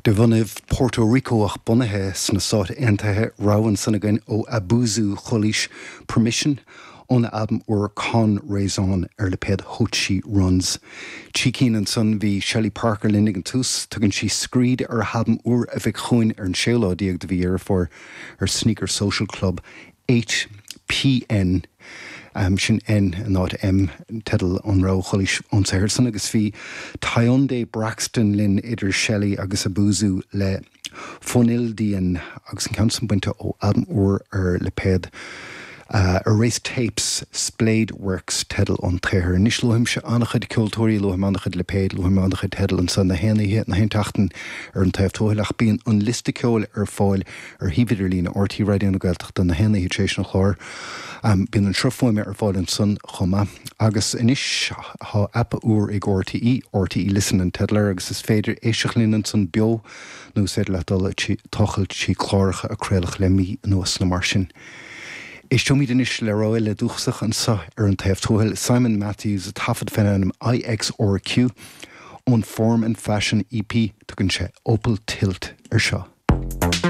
De bhunaibh Puerto Rico ach bunaithe sna Stáit Aontaithe, rogha ansan againn ó Abuzu Chuilís, Permission, óna albam úr Con Raison ar lipéad Hochi Runs. Trí cinn ansan, bhí Shelley Parker linn ag an tús, tugann sí Screed ar a halbam úr a bheidh chugainn ar an séú lá déag de mhí Dheireadh Fómhair ar Sneaker Social Club. 8PN, sin N in áit M, teideal an rogha Chuilís ón saothar san, agus bhí Tyondé Braxton linn idir Shelley agus Abuzu le Fonildian agus an ceann san bainte ó albam úr ar lipéad Erased Tapes, Splayed Works teideal an tsaothair. Anois luaimse an-chuid ceoltóirí, luaim an-chuid lipéad, luaim an-chuid teideal anso na haon oíche, na haon tseachtain ar an Taobh Tuathail ach bíonn an liosta ceoil ar fáil ar shuíomh idirlíne RTÉ Raidió na Gaeltachta na haon oíche tar éis an chláir. Bíonn an sruth fuaime ar fáil ansan chomh maith. Agus anois tá aip úr ag RTÉ, RTÉ Listen an teideal air, agus is féidir éisteacht linn ansan beo nó is féidir leat dul ag tochailt trí chláracha a craoladh le mí anuas nó mar sin. Éisteoimid anois le rogha eile dúchasach anso ar an Taobh Tuathail, Simon Matthews, a taifead fén ainm IXRQ ón Form and Fashion EP, tugann sé Opal Tilt ar seo.